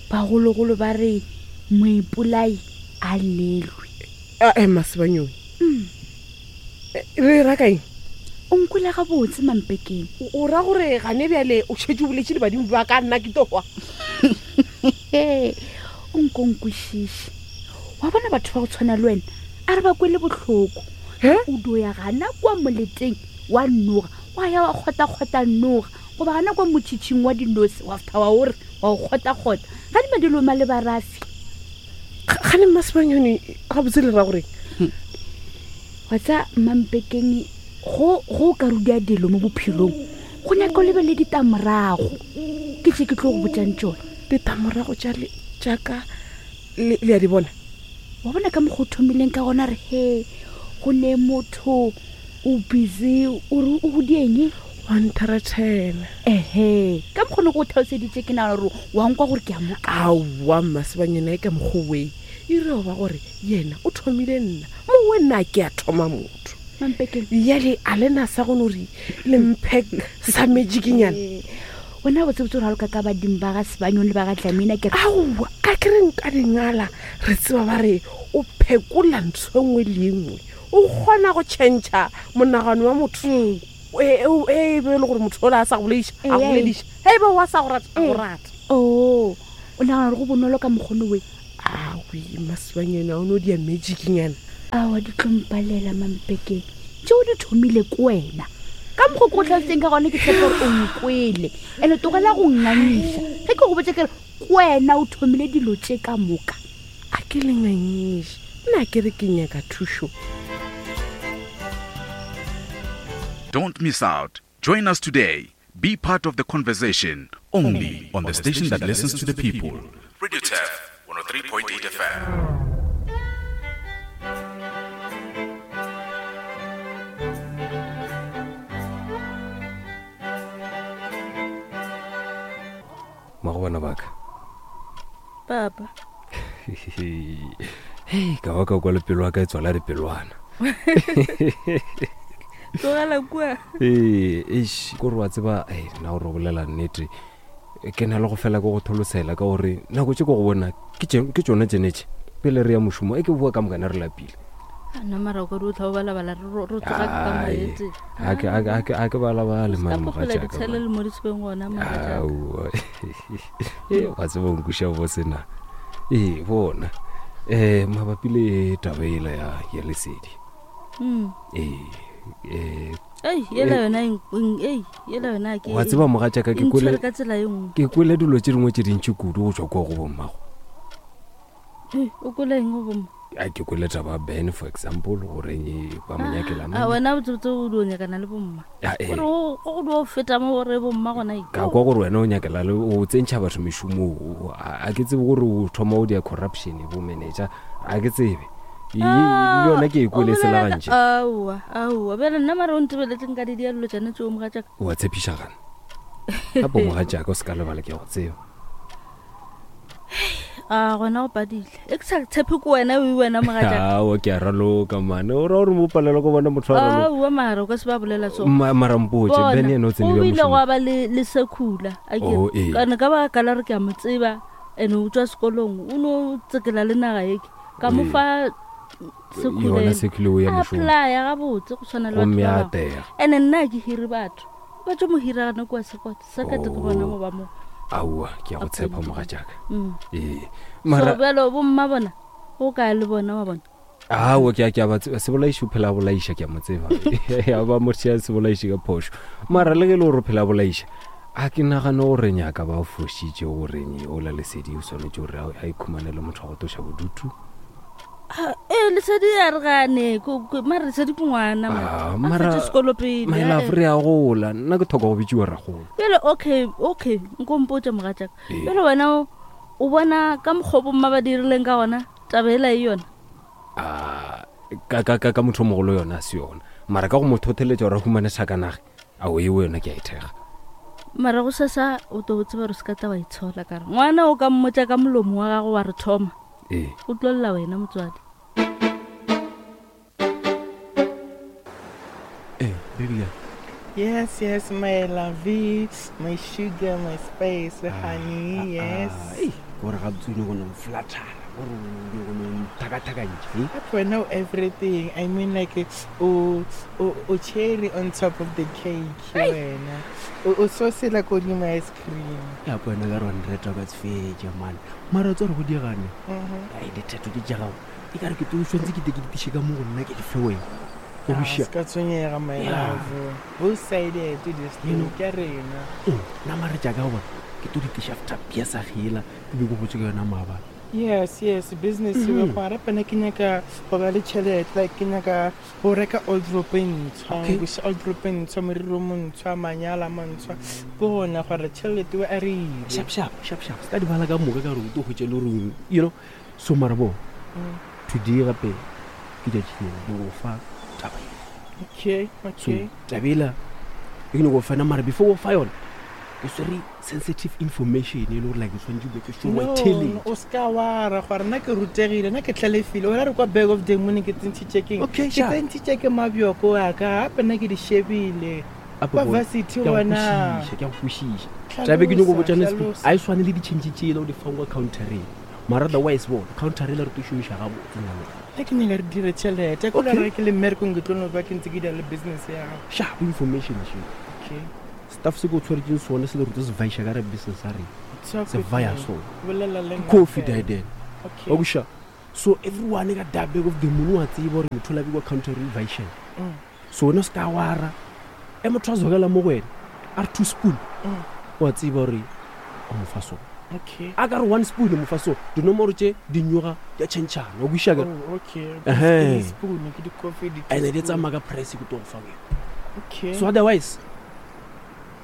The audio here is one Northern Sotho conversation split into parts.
Bagologolo ba re moipolai a llelwe. Ae Masebanyoni. Re ra kaeng? O nkwele gabotse Mampekeng. O ra gore gane bjale o šetše o boletše le badimo ba ka nna ke tlo hwa? O nko nkwešiše. Wa bona batho ba go tshwana le wena a re ba kwele bohloko. O dio ya gana kua moleteng wa noga wa ya wa kgotakgota noga goba gana kwa motšhitšhing wa dinose wa fta wa ore wa o kgotakgota ga di madiloma le barafi. Gane Mmasebanyoni gabotse le ra goreng? Wa tsa Mmampekeng go go ka rudia dilo mo bophelong go nyaka o lebelele ditamorago ke tše ke tlo go botšang tšona. Ditamorago tša le tša ka le le a di bona? Wa bona ka mokgwa o thomileng ka gona re he go ne motho o busy o re o go dieng? Wa ntharatshela. Ehe, ka mokgwa ne go tlhaloseditše ke nagana gore wa nkwa gore ke a mo ka. Aowa Mmasebanyana e ka mokgwa we e re ba gore yena o thomile nna mowe nna ke a thoma motho. Mampekeng. Bjale a le na sa go no re le mphe sa magic-nyana? Ee, wena botsebotse o raloka ka badimo ba ga Sebanyong le ba ga Dlamina ke re. Aowa, a ke re nka dingala re tseba ba re o phekola ntho e nngwe le e nngwe. O kgona go tšhentšha monagano wa motho. Ee. E, e, e be e le gore motho ola a sa go bolediša, a go bolediša. Ge e be wa sa go rata, a go rata. Oo, o nagana gore go bonolo ka mokgono we? Awi, Masebanyana, o no dia magic-nyana. Aowa, di tlo mpalela, Mampekeng. Tšeo di thomile ke wena. Ka mokgo ke go tlhalositseng ka gona ke tshepa gore o nkwele. Ene tlogela go nngangiša. Ge ke go botša ke re ke wena o thomile dilo tše ka moka. A ke le ngangiše. Nna ke re ke nyaka thušo. Don't miss out. Join us today. Be part of the conversation only on the station that listens to the people. Radio Turf 103.8 FM. Mmago bana ba ka. Papa. Hei, ka ba ka kwa le pelo ya ka e tswala dipelwana. Tlogela kua. Ee, eish, ko re wa tseba, ei, nna gore o bolela nnete. Ke na le go fela ke go tholosela ka gore nako tše ko go bona ke tšona tšenetše pele re ya mošomo e ke boa ka mokana re lapile. Nna mara o ka di o tla o balabala re tsoga ka moetse. A ke balabale mane mogatšaka. Ditshele le mo ditshweng gona mogatšaka. Aowa. E wa tseba o nkweša bose na. Ee bona. Eh mabapi le taba ela ya ya lesedi. Mm. Ee eh Ei, yela yona ei, yela yona ke. Wa tseba mogatšaka ke kwele ka tsela e nngwe. Ke kwele dilo tše dingwe tše dintši kudu go tšwa kwa go bommago. O kwele eng go bomma? A ke kwele taba Ben for example gore ba mo nyakela mang. A wena botsebotse o dio nyakana le bomma. Gore o go dio feta mo gore bomma gona. Ka kwa gore wena o nyakela le o tsentšha batho mešomong. A ke tsebe gore o thoma o dia corruption bo manager. A ke tsebe. Le yona ke e kwele selagantše. Aowa, aowa. Bjale nna mara o ntebeletseng ka di dia dilo tšane tšeo mogatšaka. O a tshepiša gana. Gape mogatšaka o se ka lebala ke a go tseba. A gona go padile. E ke sa tshepe ko wena o wena mogatšaka. Aowa ke a raloka mane. O ra gore mo palelwa ko bona motho a raloka. Aowa mara o ka se ba bolela so. Mara mpotše Ben yena o tsene bjang mošomong. O ile gwa ba le le sekhula. A ke Oh, ee. kana ka ba ka la re ke a mo tseba ene o tswa sekolong o no tsekela le naga eke. Ka mo Ee. fa sekhula Yona sekhula o ya mošomong. Apply-a gabotse go tshwana le batho Gomme ba a bangwe. atega. Ene nna ke hire batho. Ba tlo mo hira gana kua sekot. Sekete ke bona mo ba mo. Aowa ke a go tshepa mogatšaka. Mm. Ee. So Mara bjalo bomma bona o kae le bona wa bona. Aowa ke a ke a ba tseba sebolaiši o phela a bolaiša ke a mo tseba. Ya ba mo tšea sebolaiši ka phošo. Mara le ge e le gore o phela a bolaiša a ke nagane gore nyaka ba fošitše goreng ola lesedi o swanetše gore a ikhumanele motho wa go tloša bodutu. Ee, lesedi a re gane mara lesedi ke ngwana Ah, mara sekolo pele my love re a gola nna ke thoka go bitsiwa ragolo bjale okay okay nko mpotse mogatšaka bjale wena o bona ka mokgwa bomma ba dirileng ka gona taba ela e yona ah, ka ka ka ka motho o mogolo yona a se yona mara ka go mo thotheletša gore a humane sakanage ao eo yona ke a e thega mara go sesa o to tseba gore se ka tla wa itshola kare ngwana o ka mmotša ka molomo wa gago wa re thoma Ee. O tlo lla wena motswadi. Ee, baby girl. Yes, yes, my lovey, my sugar, my spice, honey, yes. Ei, gore gabotse o nyako no mflathara gore o nyako no nthakathakantšha eh? But we know everything. I mean, like, o, o, o cherry on top of the cake, wena. O, o sauce la kodimo ice cream. Ya ko wena ka re wa nreta o ka se fetše man mara o tse gore go diegane ai dithetho tše tša gago e ka re ke tlo tshwanetse ke te ke di tiše ka mo go nna ke di fe wena o Ah, buša se ka tshwenyega, my Yeah. love. Both sided, this You thing, know. ke rena. nna mare jaaka bona ke to di tiša after bia sa gela ke be ke botse ka yona maabane Yes, yes, business e mm. go rape nna ke nyaka go ba le tšhelete like ke nyaka go reka old rope e ntshwa Okay. buša old rope e ntshwa moriri o montshwa manyala a mantshwa bona gore tšhelete o a re ile sharp sharp sharp sharp se ka di bala ka moka ka gore o tlo hwetša le gore you know so mara bo today gape ke tšatši lena ke go fa taba e okay so okay tabela e ke nyako go fana mara before o fa yona ke swere sensitive information e le gore like ke tshwanetse be ke sure No, no, telling o seka wara gore nna ke rutegile nna ke tlhalefile o ra re kwa bag of the moon ke tsentšhitše keng Okay, ke sharp. tsentšhitše ke mabjoko wa ka gape nna ke di shebile kwa varsity gona ke a go kwešiša Hlalosa, tabe ke nyako botšana hlalosa. a e swane le ditšhentšhe tsela o di fang kwa countereng mara otherwise bona counter ele re tlo šomiša gabotse nna le wena. nna ke nyaka re dire tšhelete ko Okay. re ke le mmerekong ke tlo no ba ke ntse ke dira le business ya gago sharp information še okay staff se ke o tshwaretseng sone se le rute se vaiša ka re business a reng Talk se with vaya me. sone Bolela le nna coffee fela. die then Okay. wa kuša so everyone ka da back of the moon wa tseba gore motho o labe kwa counter o vaišeng so wena o se ka wara e motho a zokela mo go wena a re two spoon wa tseba gore o mo fa sone Okay. a ka re one spoon o mo fa sone dinomoro tše di nyoga di a tšhentšhana wa kuša kere Oh, okay. Ehe. Ke di-spoon, ke di-coffee, di-teaspoon. and-e di tsamaya ka price ke to go fa wena Okay. so otherwise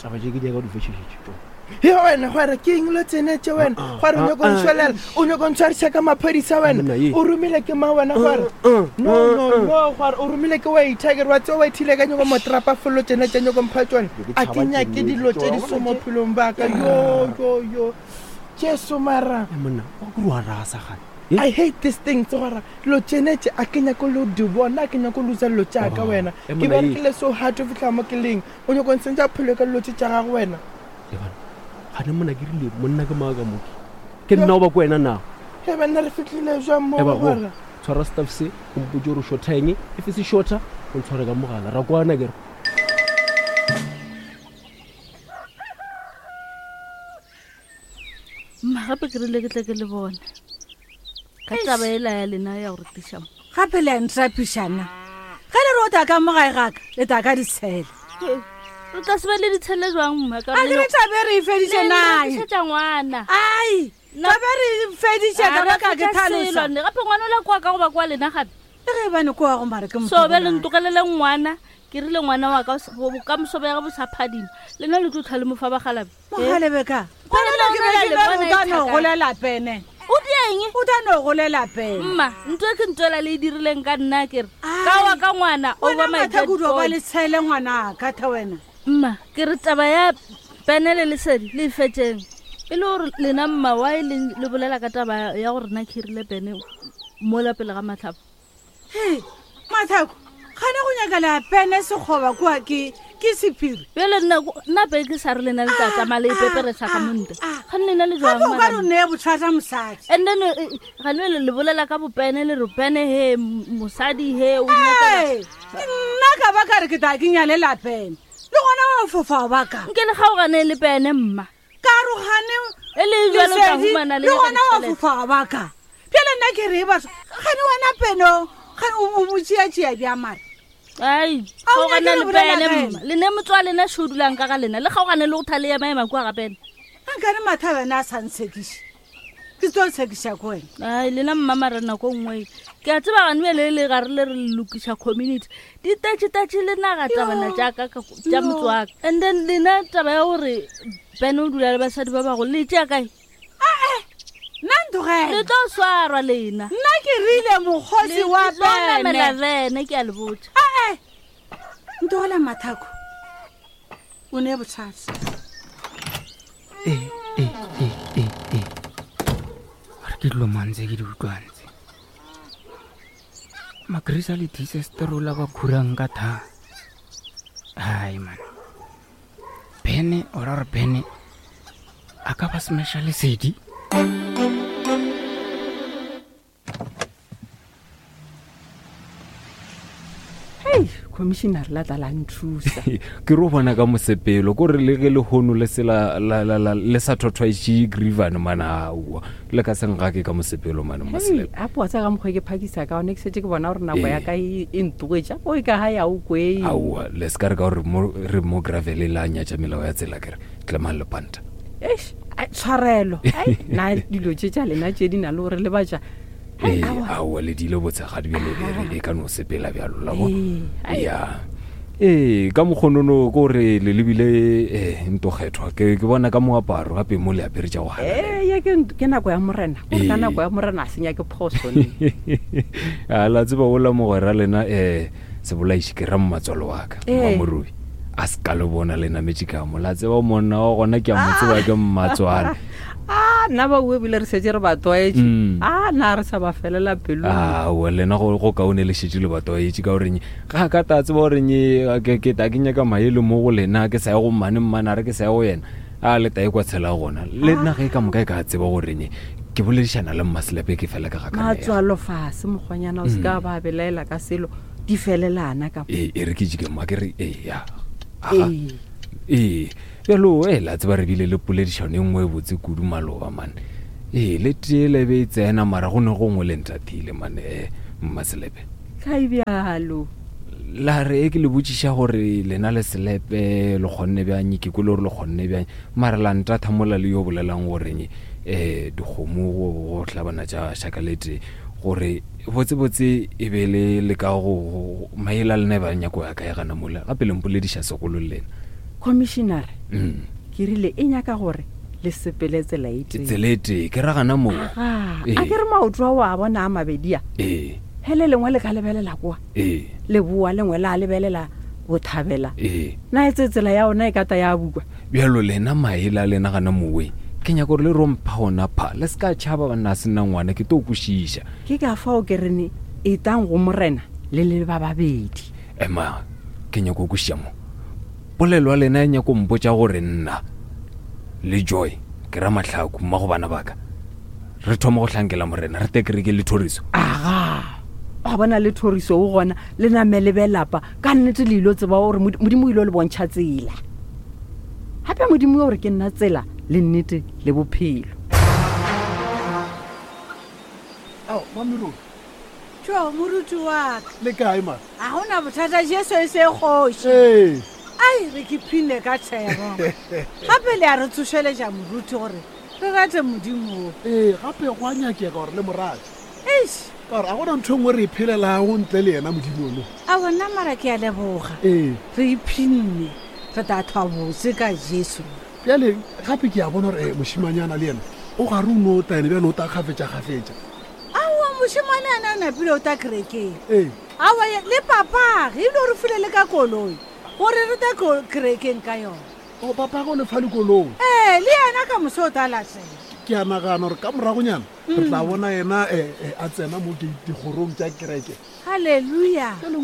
taba tše ke di ya ka di fetšešetše tšona He wena gore ke eng lo tsene tše wena Ah, ah, gore o nyako ah, ah. ntshwelela o nyako ntshwariša ka maphodisa wena Monna ye. o romile ke mang wena gore Ah, no no no gore o romile ke waiter kere wa tseo waithile ka nyako motrapa follo tsene tše nyako mpha tsone Ke a ke tšhaba nyake tše dilo tše di tšona. so mo phelong baka yo yo yo jesu mara Eh, monna wa kore wa rasa gane I hate this thing tse gore dilo tsene tše a ke nyako lo di bona a ke nyako losa dilo tšaka Oh, wena eh, ke monna ye. berekile so hard go fitlha mo ke leng o nyako ntshentša phelo ka dilo tše tša gago wena lebana gane monna ke rile monna ke maaka moki ke nna o ba ko wena na he banna re fitlhile jwang mo eba go gore tshwara staff se o mpotse gore o shorta eng if se shorta o ntshware ka mogala ra kwana kere mma gape ke rile ke tle ke le bone ka taba ela ya lena ya gore tiša mo gape le a ntrapišana ge le re o ta ka mo gae gaka le ta ka ditshele re tla se be le ditshele jwang mma ka a ke re tabe re e feditše nae rekišetša ngwana ai tabe re e feditše ka baka ke tlhalosa gape ngwana o la kwa ka goba kwa lena gape le ge bane ko wa go mare ke so be le ntogelele ngwana ke rile ngwana wa ka bokamoso bja ge bo sa phadima lena le tlo tlha le mofa bagalabe mogalebe ka Ngwana Ngwana ke be le ke bona re o e tla no thakana. golela pene o dieng o tla no golela pene mma ntho e ke ntwela le e dirileng ka nna kere Ai. ka wa ka ngwana wena over my dead mathakudu ba body. le tshele ngwanaka tha wena mma ke re taba ya pene le lesedi le e fetseng e le gore lena mma wa e leng le bolela ka taba ya gore nna khirile pene mola pele ga matlhapa he mathako gane go nyaka le pene sekgoba kua ke ke sephiri bjale nna pe ke sa re lena le tla tsamaya le ipeperesa ka monte gane lena le gape o ka re o jwang neye bothata mosadi and then gane le le bolela ka bopene le re pene he mosadi he o nyakela- Ee, ke nna ka ba ka re ke tla ke nyalela pene le gona wa fofa ba ka nke le kgaogane le pene mma ka rogane e le jalo ka lesedi humana le le nyaka gona wa ditjhelete. fofa ba ka bjale nna ke re batho gane wena peno gane o mo tšeatšea bja mare ai A o kgaogane nyake le go bolela pene ka mma ena? le ne motswa lena sho o dulang ka ga lena le kgaogane le go tha le emaema kua ga pene nkane matha wena a sa ntshekiše ke tlo tshekiša ko wena ai lena mmamara nako nngwe ke a tseba gane bjale le gare le re le lokiša community di tatšetatše le naga tabana jaaka tša motse wa ka and then lena taba ya gore pene o dula le basadi ba bago le tšea kae nna le ntogele tlo swarwa lena nna ke rile mokgosi Le wa tlo namela pene bene ke a le botša ae ntogela mathako o ne bothata ee ee ee ee ee a re ke dilo mantse ke di utlwantse magrisa le disesterola ba khurang ka tha hai man O ra gore Bene a ka ba smasha lesedi? Hei, commissioner la tla la nthusa. Ke ro bona ka mosepelo ko re le ge lehono le se la, la, la, la, le sa thothwaitše grievane mana aowa le ka se ngake ka mosepelo mane Hei, a poa tsa ka mokgwa ke phakisa ka one ke setse ke bona gore nako ya ka e e ntogetša o e ka ga ya o kweng. Aowa le se ka re ka gore mo re mo gravel la nyatša melao ya tsela ke re tlemang lepanta. Eish, ai, tshwarelo. Ai, na dilo tše tša lena tše di na le gore le batša Ee, aowa le dile botshegadi bjale e re e ka no sepela bjalo la bo ya ee ka mokgonono ko re le lebile eh, ntokgethwa ke ke bona ka moaparo gape mo le apere tša go ee ya ke ke nako ya morena gore ka nako ya morena a senya ke phoso ne a la tseba ola mogwera lena um sebolaiši ke ra mmatswalo wa ka mmamorubi a se ka le bona le nametše ka mo la tseba monna wa gona ke a mo tseba ke mmatswale a nna ba ue bile re setse re ba tlwaetše mm. a na re sa ba felela pelo aowa lena go kaone le šetse le ba tlwaetše ka goreng ga ka ta tseba goreng ke ta ke nyaka maele mo go lena ke sa ye go mmane mmane a re ke sa ye go yena a le tae kwa tshela gona le nna ge ka moka e ka tseba goreng ke boledišana le mmaselepe ke fela ka ga matswalo fase mokgwanyana o se ka mm. ba belaela ka selo di felelana ka ee e re ke jike mma ke re ee ya ee bjalo e la tseba re bile le poledišano e nngwe e botse kudu maloba mane ee le tee le be e tsena mara go ne gongwe le ntatile mane um mmaselepe kae bjalo la re e ke le botšiša gore lena le selepe le kgonne bjang ke kwele gore le kgonne bjang mara la ntatha mola le yo bolelang goreng um dikgomo go hlabana tša šaka le tee gore botsebotse e be le le ka go maela lena e ba nyako ya kae gana mola gape le mpolediša segolo le lena commissioner mm. ke rile e nyaka gore le sepele tsela e tee tsela e tee ke ra gana moo a ke re maoto ao a bona a mabedi a ee he le lengwe le ka lebelela kwa ee leboa lengwe la lebelela bothabela ee na e tse tsela ya ona e ka ta ya bukwa bjalo lena maele a lena gana mowe ke nyaka gore le rompha ona pha le se ka tšhaba banna a sena ngwana ke to kwešiša ke ka fao ke rene etang go morena le le ba babedi ema ke nyako kwešiša mo polelo ya lena e nyako mpotša gore nna le joy ke ra mahlaku mma go bana baka re thoma go hlankela morena re te kereke le thoriso aga wa bona le thoriso o gona le name le be lapa ka nnete le ilo tseba gore modimo o ile le bontšha tsela gape modimo gore ke nna tsela le nnete le bophelo ao mamerone tšo moruti wa ka le kae ma ga gona bothata jesu e se kgoši ee ai re ke phine ka thero gape le a re tsošeletša moruti gore re rate modimo o ee gape go a nyakega gore le morate eish ka gore ga gona ntho e nngwe re e phelelago ntle le yena modimo ono a bona mara ke a leboga ee re iphinne re tla thwa botse ka jesu bjale gape ke a bona gore eh, mošimanyana le yena o gare o no tla ene bjale o ta kgafetša-kgafetša aowa mošemane ana a napile o ta kerekeng ee aowa le papage ebile o re file le ka koloi gore re ta kerekeng ka yona o papage o le fa lekoloi ee le yena ka moso o ta latela ke a nagana gore ka moragonyana re tla bona yena eh, eh, a tsena mo dikgorong tša kereke halleluja jale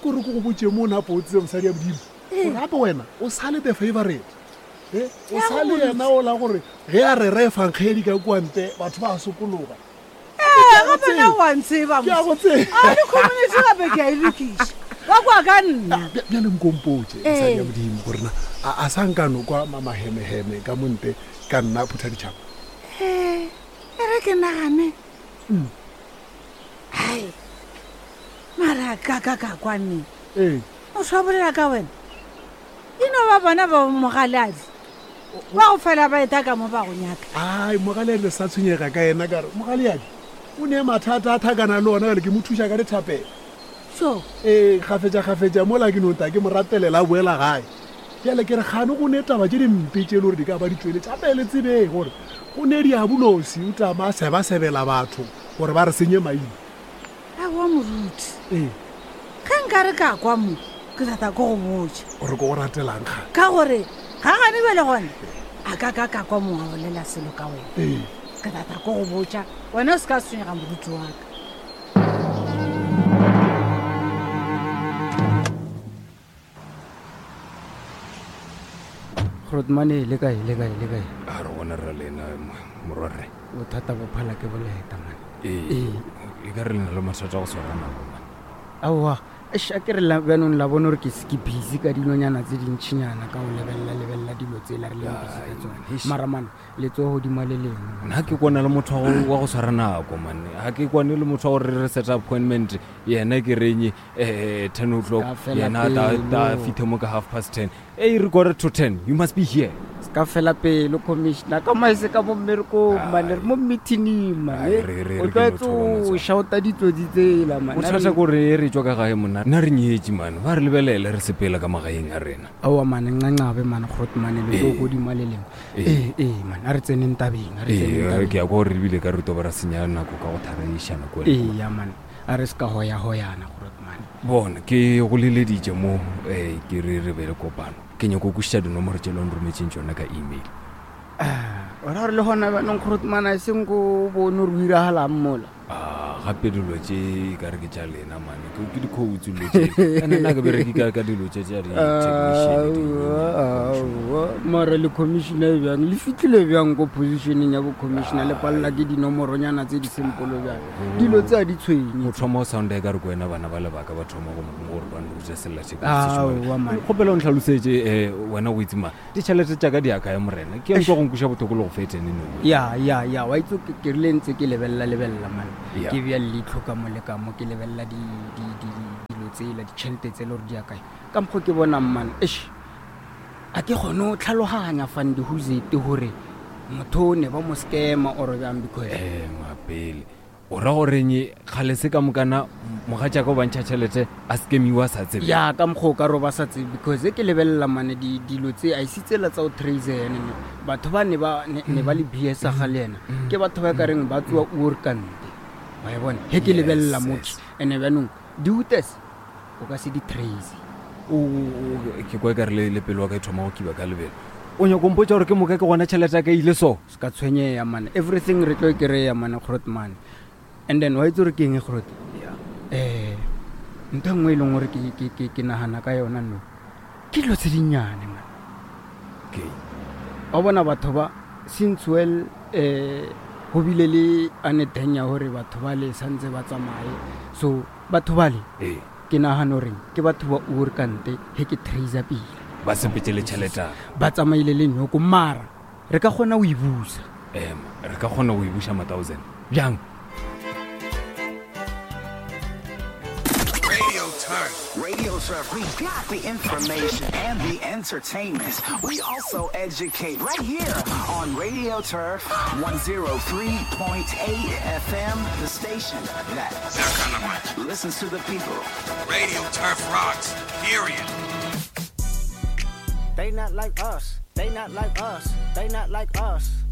kore ko go botse mo o napo o tsebe mosadi ya modimo gore gape wena o sale the favorite e o sa le yena o la gore ge a rera efankgedi ka kua ntle batho ba sokologa ee gape na wa ntseba Ke a go tseba. a le community gape ke a e lokiša ba kwa ka nna bjale nkompotse mosadi ya modimo gore na a sa nkano kwa mamahemeheme ka monte ka nna phutha ditšhaba ee e re ke nagane hai mara ka ka ka kwane ee motho wa bolela ka wena e no ba bona ba mogaladi ba go fela ba eta ka mo ba go nyaka ai mogaleadi le sa tshwenyega ka yena ka re mogaleadi o ne mathata a thakana le ona jale ke mo thuša ka dithapelo so ee kgafetša-kgafetša mola ke no ta ke mo rapelela a boela gae bjale ke re gane go ne taba tše dimpe tše e le gore di ka ba di tšweletše gape le tsebeng gore go ne diabolosi o tama a sebasebela batho gore ba re senye maina Aowa moruti. Ee. Ge nka re ka kwa mo, ke rata ko go botša. O re ko go ratelang ga? Ka gore ga gane bjale gona a ka ka ka kwa mongwe a bolela selo ka wena. Ee. Ke rata ko go botša, wena o se ka tshwenyega moruti wa ka. Grotmane le kae le kae le kae? A re gona ra lena morwarre. Bothata bo phala ke boleta man. Ee, e ka re le na le mathata a go swara nako man. Aowa, eish a ke re la bjanong la bona gore ke ke busy ka dilonyana tse dintšhinyana ka go lebelela lebelela dilo tsela re leng busy ka tsone. Mara man, letsogo godimo le lengwe. Nna ke kwana le motho wa go swara nako man. Ga ke kwane le motho wa gore re set appointment yena ke renye eh 10 o'clock yena ta fithe mo ka half past 10. Ei re quarter to 10 you must be here. Se ka fela pelo commissioner ka maese ka mo mmerekong mane re mo meetingng mane o tlwaetse o shouta ditsotsi tsela mane. Bothata ko re re tswa ka gae monna nna re nyetše mane ba re lebelele re sepela ka magaeng a rena. Aowa mane ncancabe mane grot mane le tlo godimo le lengwe. Ee ee mane a re tseneng tabeng a re tseneng tabeng. Ke ya kwa gore ebile ka re to ba ra senya nako ka go tharaišana kwa. Ee ya mane a re se ka hoya-hoyana Grootman. Bona ke go leleditše mo um ke re re be le kopano. Ke nyako kwešiša dinomoro tše le nrometšeng tšona ka email. O ra gore le gona bjanong Grootman a e seng ko bone gore o iragalang mola? Ah, gape dilo tše e ka re ke tša lena mane ke ke dikhoutu dilo tše ene nna ke bereke ka ka dilo tše tša di-technician Aowa, mara le commissioner bjang le fitlhile bjang ko positioneng ya bo-commissioner le palela ke dinomoronyana tse di sempolo bjang dilo tse a di tshwenye o thoma o sounda e ka re ko wena bana ba lebaka ba thoma go gore ba nrute Aowa, man. kgopela o ntlhalosetše um wena go itse ma ditšhelete tša ka di ya kae morena ke utlwa go nkuša bothoko le go fetene no ya ya ya wa itse ke rile ntse ke lebelela lebelela man Ya. ke bea leitlho ka mo le ka mo ke lebelela dilo tsela ditšhelete tse le gore di ya kae ka mokgwa ke bonang man eish a ke kgone go tlhaloganya fandi huzete gore motho o ne ba mo scama or bjang because ema pele o ra goreng kgale se ka mokana mogatšaka o bantšha tšhelete a scamiwa a sa tsebe ya ka mokgwa o ka re ba sa tsebe because e ke lebelela mane dilo tse a ise tsela tsa go trace ene ne batho ba ne ba ne ba le bs ga le ena ke batho ba ka reng ba tsoa oorkante wa e bona he ke lebelela motho ene bjanong di-utes o ka se di trace ke kwa e ka re le pelo wa ka e thoma go kiba ka lebelo o nyako mpotsa gore ke moka ke gona tšhelete ya ka ile so se ka tshwenyeya mane everything re tlo e kry-a mane grot mane and then wa itse gore ke eng grot um ntho e nngwe e leng gore ke nagana ka yona no ke dilo tse dinnyane mane okay wa bona batho ba since well um go bile le aneteng ya gore batho ba le santse ba tsamaye so batho bale ee ke nagana goreng ke batho ba oorkante he ke tracer pele ba sepetse le tšhelete ba tsamaile le nyoko mara re ka kgona go e busa ema re ka kgona go e buša ma-thousand bjang Radio Turf. Radio Turf. We got the information and the entertainment. We also educate right here on Radio Turf 103.8 FM, the station that listens to the people. Radio Turf rocks. Period. They not like us. They not like us. They not like us.